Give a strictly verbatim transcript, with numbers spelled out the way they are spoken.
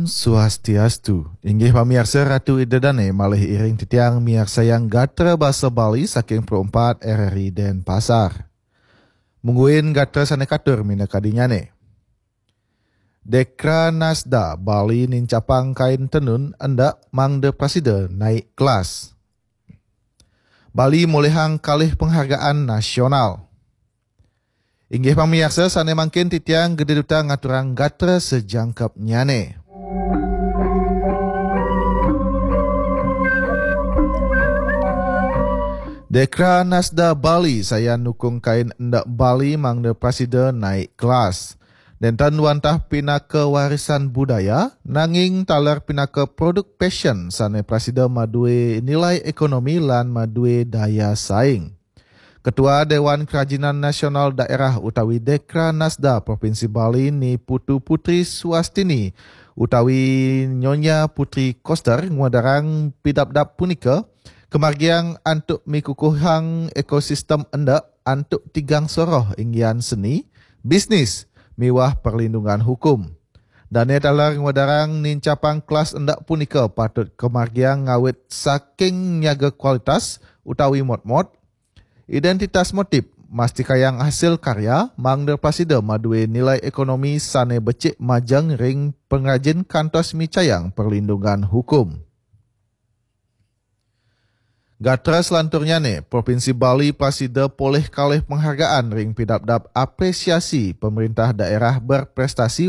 Swastiastu. Inggih pamiarsa, Ratu Ida Dane malih iring titiang miarsayang gatra basa Bali saking Pro empat R R I Denpasar. Mungguin gatra sane katur minakadinyane. Dekra Nasda Bali nincapang kain tenun endak mangda prasida naik kelas. Bali molihang kalih penghargaan nasional. Inggih pamiarsa, sane mangkin titiang gede duta ngaturang gatra sejangkepnyane. Dekra Nasda Bali sayan nukung kain endak Bali mangda prasida naik kelas. Nenten wantah pinaka warisan budaya, nanging taler pinaka produk fashion sane prasida madue nilai ekonomi lan madue daya saing. Ketua Dewan Kerajinan Nasional Daerah utawi Dekra Nasda Provinsi Bali Ni Putu Putri Suastini utawi Nyonya Putri Koster ngwedarang pidabdab punika kamargiang antuk mikukuhang ekosistem endak antuk tigang soroh inggian seni, bisnis, miwah perlindungan hukum. Dane taler ngwedarang nincapang kelas endak punika patut kamargiang ngawit saking nyaga kualitas utawi motmot, identitas motif, mastikayang hasil karya, mangda prasida madue nilai ekonomi sane becik majeng ring pengrajin kantos micayang perlindungan hukum. Gatra selanturnyane, Provinsi Bali prasida polih kalih penghargaan ring pidabdab apresiasi pemerintah daerah berprestasi